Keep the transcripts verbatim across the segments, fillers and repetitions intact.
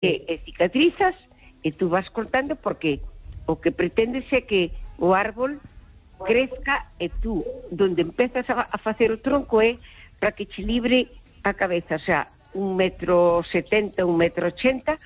e, e cicatrizas, e tú vas cortando porque o que pretendes é que o árbol crezca e tú, donde empezas a, a facer o tronco é para que che libre a cabeza, o sea, un metro setenta, un metro ochenta,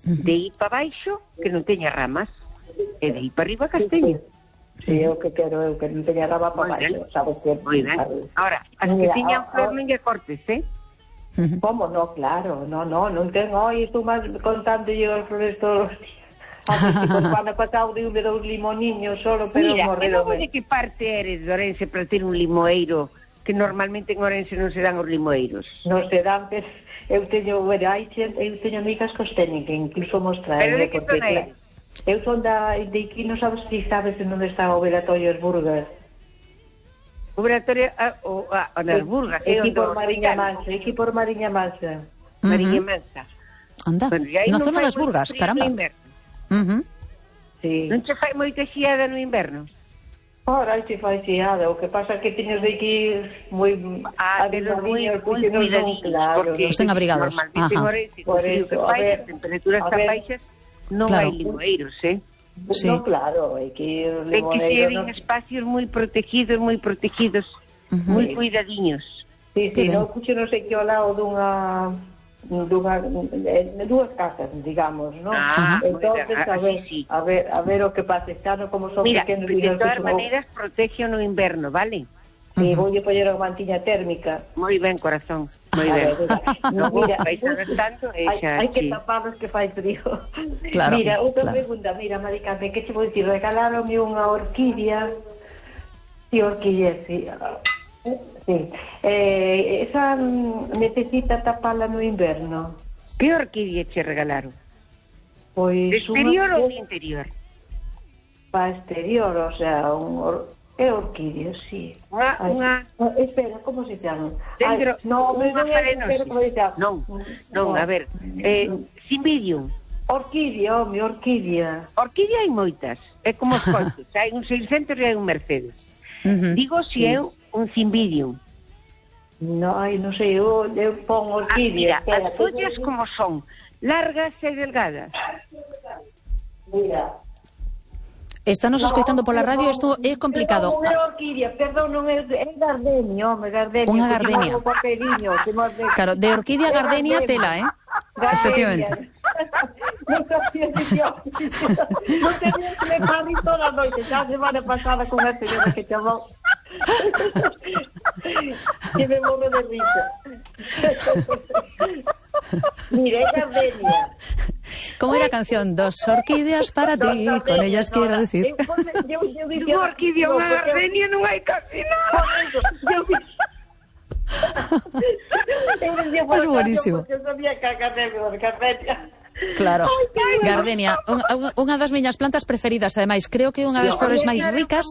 de aí para baixo, que non teña ramas, e de aí para arriba casteño. Sí, eu que quero, eu que non teña rama para baixo, sabes que... Moi ben. Ahora, as que tiñan flor non lle cortes, eh? Como no, claro, no, no, non ten, oi, estou máis contando yo as flores todos os días. Así que cando pasado de un de dous limoniños solo, pero mira, morredo. Mira, de que parte eres de Orense para ter un limoeiro, que normalmente en Orense non se dan os limoeiros? Non se dan, pero eu teño, bueno, hai xente, eu teño amigas que os teñen, que incluso mostrar. Pero de que zona eres? Eu son da, de aquí, non sabes si sabes onde está o Velatorio Burgas. O Velatorio, ah, o, ah, o nas Burgas. Aquí por Mariña Mansa, aquí por Mariña Mansa. Mariña Mansa. Anda, bueno, na zona das Burgas, caramba. Uh -huh. Sí. Non che fai moita xiada no inverno? Ora, hai che fai xiada, o que pasa é que teñes de aquí moi... Ah, pero moi, moi cuidadiños, claro, porque estén abrigados. Normalmente en Orense, por eso, a ver, temperaturas tan baixas, non claro. hai limoeiros, eh? Sí. No, claro, hai que... Hai que ser en espacios moi protegidos, moi protegidos, uh -huh. moi cuidadiños. Sí, sí, non puxo non sei que ao lado dunha... dunha, de dúas casas, digamos, ¿no? Ah, entonces a ver, sí, sí. a ver, a ver o que pasa, está no como son mira, pequenos. Mira, de todas maneras protege no inverno, ¿vale? Sí, uh -huh. Voy a poner unha mantiña térmica. Moi ben, corazón, moi ben. No, mira, vais a ver tanto, hai, xa, hai que sí. taparlos que fai frío. Claro, mira, outra claro. pregunta, mira, Maricante, que che vou dicir, regalaronme unha orquídea, si orquídea, si... Sí. Eh, esa necesita tapala no inverno. Que orquídea che regalaron? Pois de exterior una... ou de interior? Para exterior, o sea, un or... é orquídea, sí. Unha, unha... Espera, como se chama? Dentro, Ay, no, unha farenosis. Non, non, a ver, eh, Cymbidium. Orquídea, home, orquídea. Orquídea hai moitas, é como os coches, hai un seiscentos e hai un Mercedes. Uh -huh. Digo si é un Cymbidium. No, ai, non sei, eu, eu pon orquídea. Ah, mira, as follas como son, largas e delgadas. Mira. Estános escoitando pola radio, isto é complicado. Non é orquídea, perdón, non é, é gardenia, home, gardenia. Unha gardenia. Claro, de orquídea a gardenia tela, eh? Gardenia. Efectivamente. Non sabía que yo... Non tenía que me parir toda a noite, xa a semana pasada con a señora que chamou. Que me morro de risa. Mira, é gardenia. Como era a canción? Dos orquídeas para ti, con ellas quiero decir. Unha orquídea, unha gardenia non hai casi nada. Es buenísimo. Claro, gardenia, unha das miñas plantas preferidas, ademais, creo que é unha das flores máis ricas.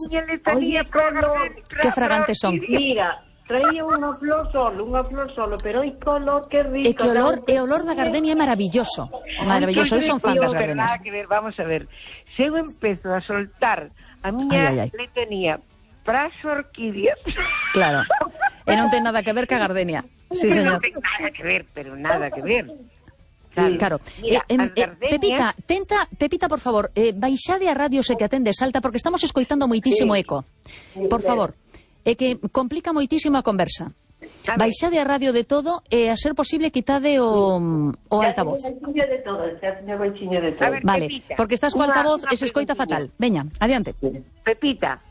Que fragantes son. Mira, traía unha flor solo, unha flor solo, pero hai color que rico. E que olor, e olor da gardenia é maravilloso. Maravilloso, eu son fan das gardenias. Que ver, vamos a ver. Se eu empezo a soltar a miña letanía para as orquídeas. Claro. E non ten nada que ver ca gardenia. Sí, señor. Non ten nada que ver, pero nada que ver. Claro. claro. Mira, eh, eh, gardenias... Pepita, tenta, Pepita, por favor, eh, baixade a radio se que atende Salta porque estamos escoitando moitísimo sí. eco. Por favor. É que complica moitísimo a conversa. A baixade a radio de todo e a ser posible quitade o, o altavoz. De todo, de todo. Ver, vale, Pepita, porque estás co altavoz e se escoita fatal. Veña, adiante. Pepita.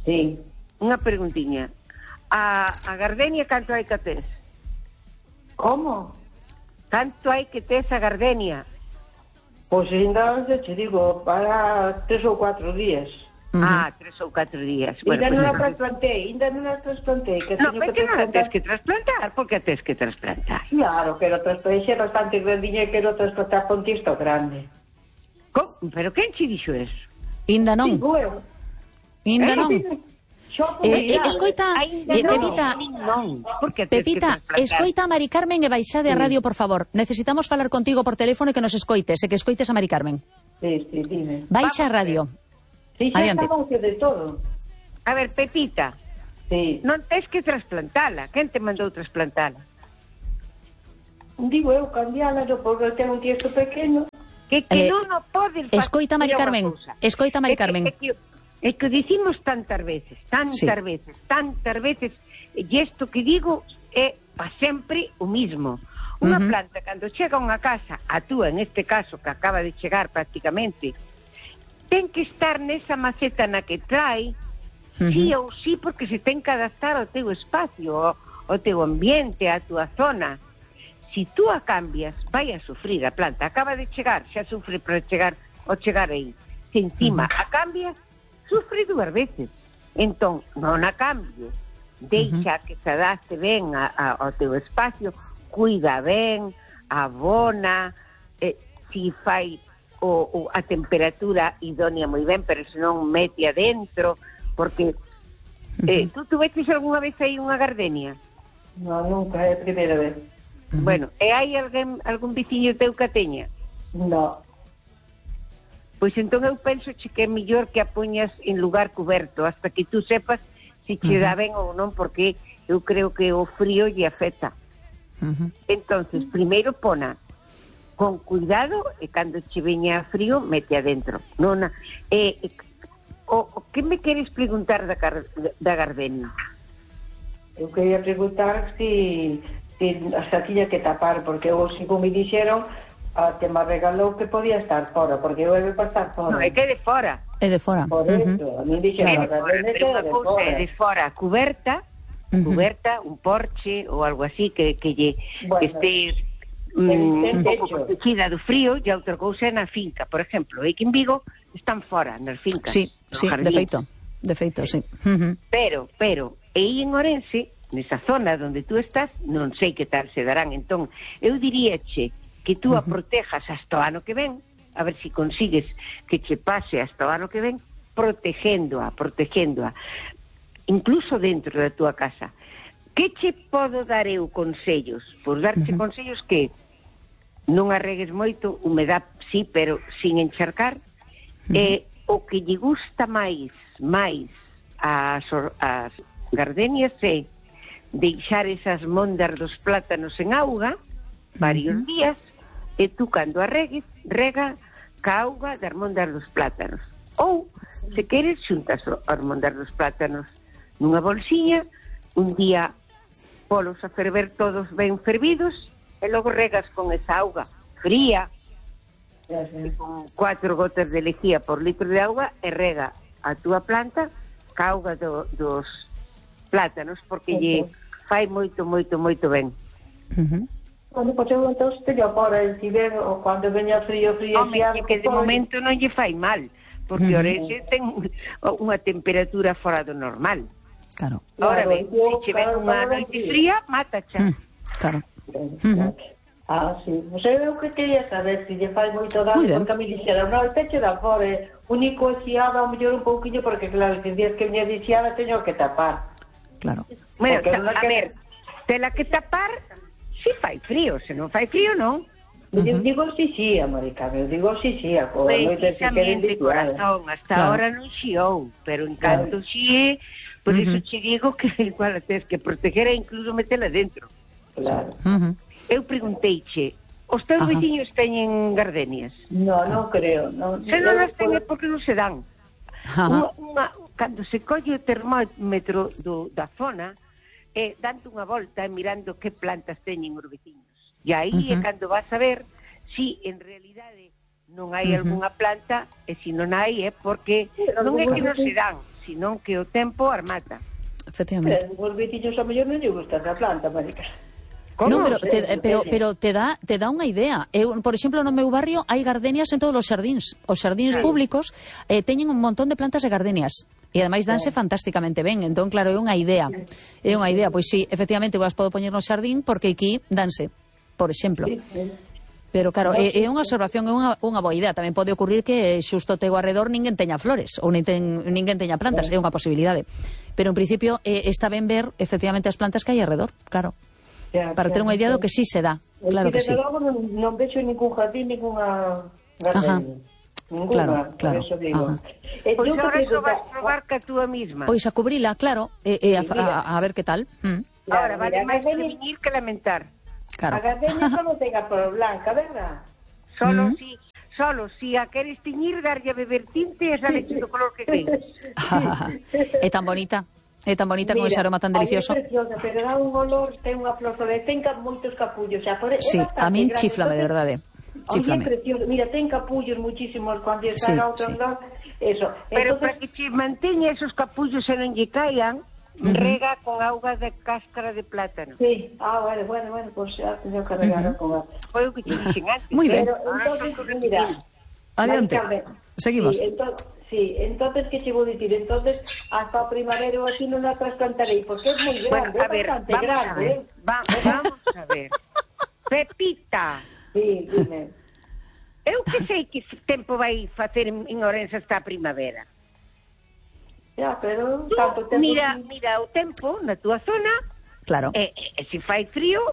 Sí. Unha preguntiña. A, a gardenia canto hai que tes? Como? Canto hai que tes a gardenia? Pois ainda, te digo, para tres ou cuatro días. Uh -huh. Ah, tres ou catro días. Ainda Bueno, non pues, a trasplantei, ainda non a trasplantei. Que no, pero que non a tes que trasplantar? trasplantar? Por que a tes que trasplantar? Claro, quero trasplantei bastante grandiña e quero trasplantar con tisto grande. ¿Cómo? Pero quen che dixo eso? Inda non. Inda non. Eh, eh, escoita, eh, Pepita, non, Pepita, escoita a Mari Carmen e baixade a radio, por favor. Necesitamos falar contigo por teléfono e que nos escoites, e que escoites a Mari Carmen. Sí, sí, dime. Baixa a radio. Sí, xa estamos de todo. A ver, Pepita, sí. Non tes que trasplantala. Quen te mandou trasplantala? digo eu, cambiála, porque ten un tiesto pequeno. Que, que Eh, non o podes facer. Escoita, Mari Carmen, escoita, Mari Carmen. É que, é que, é que dicimos tantas veces, tantas Sí. veces, tantas veces, e isto que digo é pa sempre o mismo. Unha Uh-huh. planta, cando chega a unha casa, a túa, en este caso, que acaba de chegar prácticamente, ten que estar nesa maceta na que trae, Uh-huh. sí ou sí, porque se ten que adaptar ao teu espacio, ao, ao teu ambiente, á túa zona. Si tú a cambias, vai a sufrir a planta. Acaba de chegar, xa sufre para chegar ao chegar aí. Se encima uh-huh. a cambias, sufre dúas veces. Entón, non a cambies. Deixa uh-huh. que se adapte ben a, a, ao teu espacio, cuida ben, abona, eh, si fai o, o, a temperatura idónea moi ben, pero senón mete adentro, porque eh, tú tuveches algunha vez aí unha gardenia? Non, nunca, é a primeira vez. Uh-huh. Bueno, e hai alguén, algún veciño teu que a teña? Non. Pois entón eu penso che que é mellor que a poñas en lugar coberto hasta que tú sepas se che dá ben ou non, porque eu creo que o frío lle afecta. Uh-huh. Entonces, primeiro pona con cuidado e cando che veña frío mete adentro. Non, eh, eh, o, o que me queres preguntar da, da gardenia? Eu quería preguntar si, si hasta tiña que tapar, porque eu, como me dixeron, a que me regalou que podía estar fora, porque eu debe pasar fora. Non, é que de fora. É de fora. Por Uh-huh. eso, a mí dixeron, É de fora, pero unha cousa é de fora cuberta, uh-huh. cuberta, un porche ou algo así que, que, lle, bueno, que estés mm, un pouco protegida do frío, e outra cousa é na finca. Por exemplo, aquí en Vigo están fora, nas fincas. Sí, sí, de feito, de feito, sí. Uh-huh. Pero, pero, e aí en Orense, nesa zona onde tú estás, non sei que tal se darán. Entón, eu diríache que tú a protejas hasta o ano que ven, a ver si consigues que che pase hasta o ano que ven, protegéndoa, protegéndoa, incluso dentro da túa casa. Que che podo dar eu consellos? Por darche uh-huh. consellos que non arregues moito, humedad sí, pero sin encharcar, uh-huh. e o que lle gusta máis, máis as, as gardenias é deixar esas mondas dos plátanos en auga varios uh-huh. días, e tú cando arregues, rega ca auga das mondas dos plátanos. Ou, se queres, xuntas as mondas dos plátanos nunha bolsiña, un día polos a ferver todos ben fervidos, e logo regas con esa auga fría, e con cuatro gotas de lejía por litro de auga, e rega a túa planta ca auga do, dos plátanos, porque lle fai moito, moito, moito ben. Uh-huh. Bueno, pois eu entón teño fora, si ven, ou cando veña frío, frío, Home, e que de momento non lle fai mal, porque uh-huh. Orense ten unha temperatura fora do normal. Claro. Ahora claro, ben, se che ven unha noite fría, mátacha. Mm, claro. Uh-huh. Ah, sí. Non sei o que quería saber, se lle fai moito dano, porque a mi dixeron, non, el techo da fora, único exiada, ao mellor un pouquinho, porque claro, que días que viña exiada, teño que tapar. Claro. Bueno, Porque a, a que... ver, tela que tapar, si fai frío, se non fai frío, non. Uh-huh. Digo, digo sí, sí, América, digo sí, sí, a coa moita que queren de corazón, hasta claro. Ahora non xiou, pero en canto claro. Xie, por uh-huh. eso che digo que igual a tes que proteger e incluso metela dentro. Claro. Uh-huh. Eu pregunteiche, os teus uh-huh. veciños teñen gardenias? No, non creo. Non, se non as teñen, porque non se dan. Uh-huh. Unha, unha, cando se colle o termómetro do, da zona, eh, dando unha volta e mirando que plantas teñen os veciños. E aí uh-huh. é cando vas a ver si en realidade non hai uh-huh. algunha planta, e se non hai é porque non é que non se dan, senón que o tempo armata. Efectivamente. Pero os veciños a mellor non lle gusta esa planta, Marica. No, pero te, pero, pero te dá te dá unha idea. Eu, por exemplo, no meu barrio hai gardenias en todos os xardíns. Os xardíns sí. públicos eh, teñen un montón de plantas de gardenias. E ademais danse sí. fantásticamente ben. Entón, claro, é unha idea. É unha idea. Pois sí, efectivamente, vos podo poñer no xardín porque aquí danse, por exemplo. Sí, sí. Pero claro, é, é unha observación, é unha, unha boa idea. Tamén pode ocurrir que xusto teu arredor ninguén teña flores ou nin ten, ninguén teña plantas. É unha posibilidade. Pero en principio eh, está ben ver efectivamente as plantas que hai arredor, claro. Ya, para ter unha idea do que sí se dá, claro que sí. Logo non, non vexo ningún jardín, ninguna gardenia. Ninguna, claro, claro. Por eso digo. Eh, pois agora iso vas probar ca túa misma. Pois a cubrila, claro, e, e a, a, a ver que tal. Mm. Ahora, vale máis prevenir que lamentar. Claro. A gardenia solo ten a flor blanca, verdad? Solo Mm. si, solo si a queres tiñir, darlle a beber tinte e sale do color que queres. É tan bonita. É tan bonita con ese aroma tan delicioso. É preciosa, pero dá un olor, ten unha flor sobre, ten ca- moitos capullos, xa, por, é Sí, bastante a min grande, chiflame, de entonces, verdade. Oye, Chiflame. precioso. Mira, ten capullos muchísimos cuando está Sí, a outro sí. lado. Eso. Pero Entonces, para que che manteña esos capullos e non lle caian, Ujú. rega con auga de cáscara de plátano. sí. Ah, bueno, bueno, bueno, pues ya tengo que regar Ujú. con él. Foi o que che dixen antes. Muy bien. Pero Ahora entonces, toco mira, repetir. Adiante. Mari Carmen, Seguimos. Sí, entonces, sí, entonces, ¿qué te voy a decir? Entonces, hasta primavera o así no la trasplantaré, porque es muy grande, Bueno, a es ver, bastante vamos grande, a ver. ¿eh? Va- vamos a ver. Pepita, Sí, dime. eu que sei que tempo vai facer en en Ourense esta primavera. Ya, pero Tú, tanto tempo... mira, mira o tempo na túa zona, Claro. e, e, e se fai frío,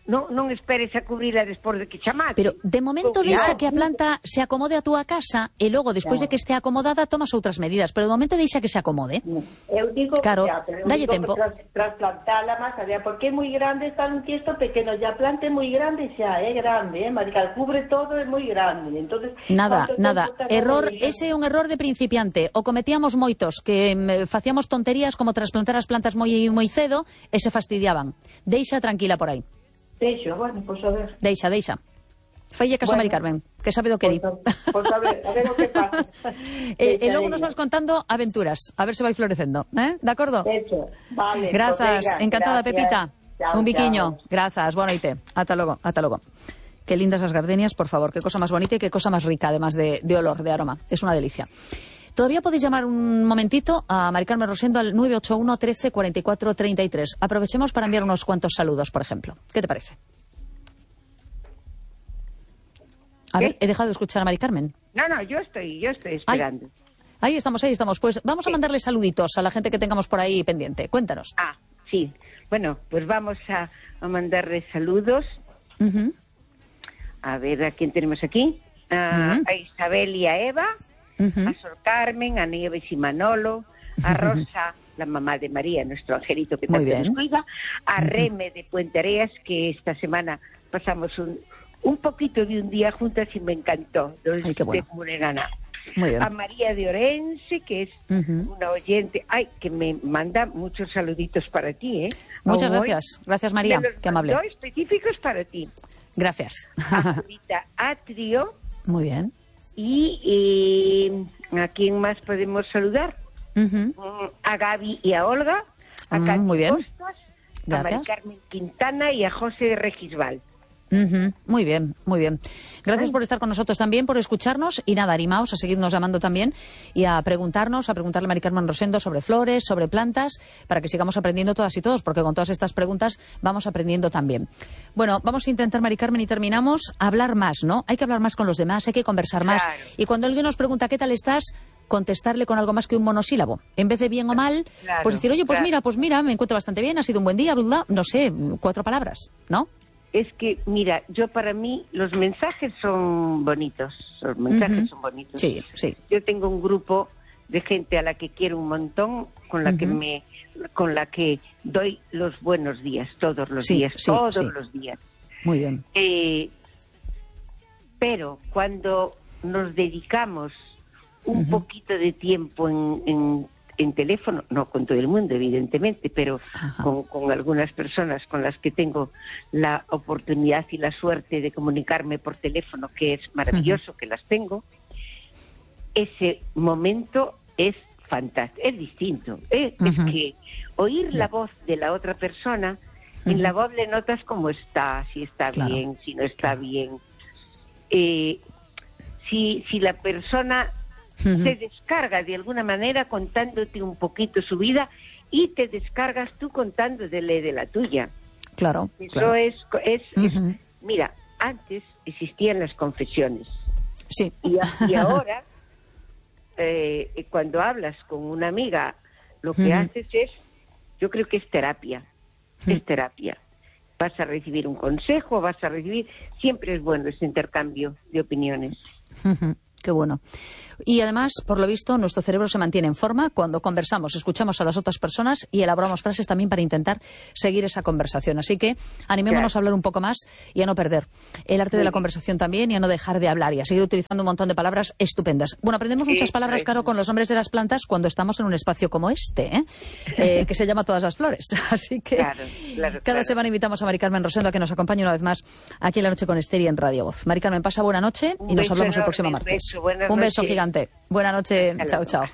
non, non esperes a cubrila despois de que chamate. Pero de momento Claro. deixa que a planta se acomode a túa casa e logo, despois de que estea acomodada, tomas outras medidas. Pero de momento deixa que se acomode. Eu digo, Claro, ya, pero eu dalle digo tempo. que tras, trasplantarla más allá, porque é moi grande, está un tiesto pequeno, ya plante moi grande xa, é grande, eh, Marical, cubre todo, é moi grande. Entonces, Nada, ¿cuánto nada. tempo tarda Error, en deixar? ese é un error de principiante. O cometíamos moitos, que mm, facíamos tonterías como trasplantar as plantas moi moi cedo e se fastidiaban. Deixa tranquila por aí. Deixo, bueno, pues a ver. Deixa, deixa. Falle caso a Bueno. Mari Carmen, que sabe do que di. Pues, a- pues a ver, a ver o que pasa. E, e Deixa, logo nos veña. vas contando aventuras, a ver se vai florecendo, eh? De acordo? Hecho, vale. Grazas, pues venga, encantada gracias. Pepita. Chao, Un biquiño. chao. Grazas, boa noite. Ata logo, ata logo. Qué lindas las gardenias, por favor, qué cosa más bonita y qué cosa más rica, además de, de olor, de aroma. Es una delicia. Todavía podéis llamar un momentito a Mari Carmen Rosendo al nueve ocho uno, trece, cuarenta y cuatro, treinta y tres. Aprovechemos para enviar unos cuantos saludos, por ejemplo. ¿Qué te parece? A ¿Qué? ver, he dejado de escuchar a Mari Carmen. No, no, yo estoy, yo estoy esperando. Ahí estamos, ahí estamos. Pues vamos a mandarle saluditos a la gente que tengamos por ahí pendiente. Cuéntanos. Ah, sí. Bueno, pues vamos a, a mandarle saludos. Ujú. A ver, ¿a quién tenemos aquí? A, Ujú. a Isabel y a Eva, Ujú. a Sor Carmen, a Nieves y Manolo, a Rosa, la mamá de María, nuestro angelito que Muy tanto bien. nos cuida, a Reme de Puente Areas, que esta semana pasamos un, un poquito de un día juntas y me encantó. Ay, qué bueno. De Muregana. Muy bien. A María de Orense, que es Ujú. una oyente, ay, que me manda muchos saluditos para ti, ¿eh? Muchas Hoy gracias. Gracias, María. me los Qué amable. mandó específicos para ti. Gracias. A Judita Atrio Muy bien. y eh, ¿a quién más podemos saludar? Ujú. Mm, A Gaby y a Olga, a Mm, Katy muy bien. Costas, a Gracias. Mari Carmen Quintana y a José Regisbal. Ujú. Muy bien, muy bien. Gracias por estar con nosotros también, por escucharnos y nada, animaos a seguirnos llamando también y a preguntarnos, a preguntarle a Mari Carmen Rosendo sobre flores, sobre plantas, para que sigamos aprendiendo todas y todos, porque con todas estas preguntas vamos aprendiendo también. Bueno, vamos a intentar, Mari Carmen, y terminamos, a hablar más, ¿no? Hay que hablar más con los demás, hay que conversar más. Claro. Y cuando alguien nos pregunta, ¿qué tal estás?, contestarle con algo más que un monosílabo. En vez de bien o mal, Claro, pues decir, oye, pues claro. mira, pues mira, me encuentro bastante bien, ha sido un buen día, bla, bla, no sé, cuatro palabras, ¿no? Es que, mira, yo para mí los mensajes son bonitos, los mensajes Ujú. son bonitos. Sí, sí. Yo tengo un grupo de gente a la que quiero un montón, con la que Ujú. me, con la que doy los buenos días, todos los Sí, días, sí, todos sí. los días. Muy bien. Eh, pero cuando nos dedicamos un Ujú. poquito de tiempo en, en, en teléfono, no con todo el mundo, evidentemente, pero Ajá. con, con algunas personas con las que tengo la oportunidad y la suerte de comunicarme por teléfono, que es maravilloso que las tengo, ese momento es fantástico, es distinto. ¿eh? Ujú. Es que oír Ya. la voz de la otra persona, Ujú. en la voz le notas cómo está, si está Claro. bien, si no está bien. Eh, si, si la persona Ujú. se descarga de alguna manera contándote un poquito su vida y te descargas tú contándole de la tuya. Claro, Eso claro. es, es, es- Ujú. mira, antes existían las confesiones Sí. y, a- y ahora eh, cuando hablas con una amiga lo que Ujú. haces es, yo creo que es terapia, Ujú. es terapia. Vas a recibir un consejo, vas a recibir, siempre es bueno ese intercambio de opiniones. Ujú. Qué bueno. Y además, por lo visto, nuestro cerebro se mantiene en forma cuando conversamos, escuchamos a las otras personas y elaboramos frases también para intentar seguir esa conversación. Así que animémonos claro. a hablar un poco más y a no perder el arte sí. de la conversación también y a no dejar de hablar y a seguir utilizando un montón de palabras estupendas. Bueno, aprendemos sí, muchas palabras, claro, con los nombres de las plantas cuando estamos en un espacio como este, ¿eh? Eh, que se llama Todas las Flores. Así que claro, claro, cada claro. semana invitamos a Mari Carmen Rosendo a que nos acompañe una vez más aquí en La Noche con Esther y en Radio Voz. Mari Carmen, pasa buena noche y nos hablamos el próximo martes. Un beso, un beso gigante. Buena noche. Chao, chao.